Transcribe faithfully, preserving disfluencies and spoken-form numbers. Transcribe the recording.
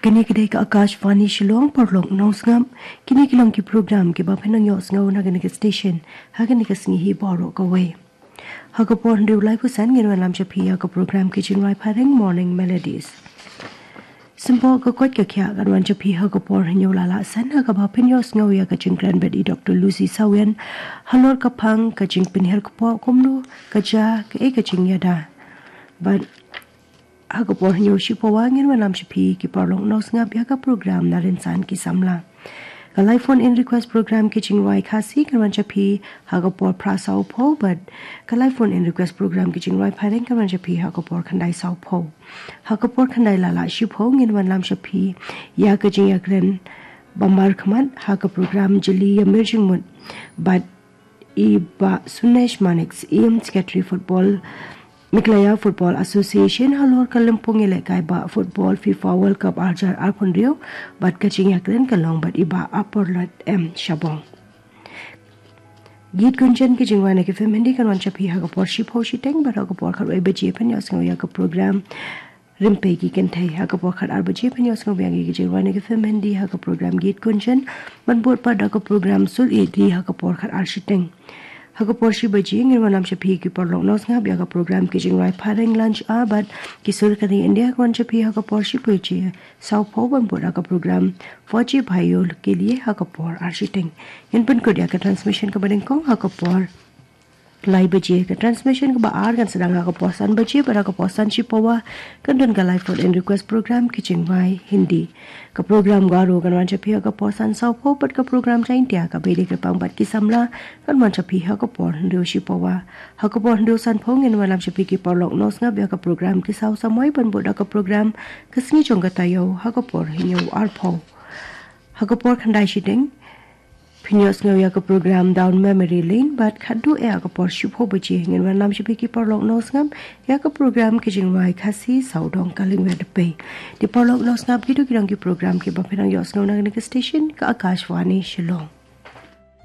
Kine ki dei ka Akashvani Shillong, paralok nongsngap. Kine ki long ki program kiba phin nang ïohsngew na kane ka station ha kane ka sngi hi baroh kawei. Ha ka por hynriew laiphew san ngin wanlam sha phi ha ka program ki jingrwai phareng Morning Melodies. Symboh ka koit ka khiah kan wan sha phi ha ka por hynñiew laiphew san, ha kaba phin ïohsngew ïa ka jingkren bad i Doctor Lucy Sawian halor ka phang ka jingpynhiar kpoh, kumno ka jia, kaei ka jingïada. Bad ha ka por hynñiew shiphew wah ngin wanlam sha phi ki paralok nongsngap ïa ka program Na Rynsan ki Samla. Ka live phone in request program ki jingrwai Khasi kan wan sha phi ha ka por phra sawphew, bad ka live phone in request program ki jingrwai phareng kan wan sha phi ha ka por khyndai sawphew. Ha ka por khyndai laiphew shiphew ngin wanlam sha phi ïa ka jingïakren ba markhmat ha ka program Jylliew Ïamir Jingmut bad i Bah Sunesh Manik, Syiem Secretary Football, Meghalaya Football Association, halor ka lympung ïalehkai bah football FIFA World Cup arhajar arphew hynriew, bad ka jingïakren ka long bad i Bah Aporlot M Shabong. Geet Gunjan ki jingrwai na ki film Hindi kan wan sha phi ha ka por shiphew shiteng, bad ha ka por khatwei baje phin ïohsngew ïa ka program Rympei ki Kynthei. Ha ka por khatar baje phin ïohsngew biang ïa ki jingrwai na ki film Hindi ha ka program Geet Gunjan, ban bud pat da ka program Sur Ïeit Ri ha ka por khatar shiteng. Ha ka por shi baje ngin wanlam sha phi ki paralok nongsngap ïa ka program ki jingrwai phareng Lunch Hour, bad Ki Sur Ka Ri India kan wan sha phi ha ka por shi baje sawphew, ban bud da ka program Fauji Bhaiyon Ke Liye ha ka por ar shiteng. Ngin pynkut ïa ka transmission kaba nyngkong ha ka por lai baje. Ka transmission kaba ar kan sdang ha ka por san baje, bad ha ka por san shiphew wah kan don ka live phone in request program ki jingrwai Hindi. Ka program Garo kan wan sha phi ha ka por san sawphew, bad ka program Jaiñtia, Ka Bei Dei Kyrpang bad Ki Samla kan wan sha phi ha ka por hynriew shiphew wah. Ha ka por hynriew sanphew ngin wanlam sha phi ki paralok nongsngap ïa ka program Ki Saw Samoi, ban bud da ka program Ka Sngi Jong Ka Taïew ha ka por hynñiew arphew. Ha ka por khyndai shiteng phin ïohsngew ïa ka program Down Memory Lane, bad khatduh ïa ka por shiphew baje ngin wanlam sha phi ki paralok nongsngap ïa ka program ki jingrwai Khasi Sawdong Ka Lyngwer Dpei. Ki paralok nongsngap, kito ki long ki program kiba phin nang ïohsngew na kane ka station ka Akashvani Shillong.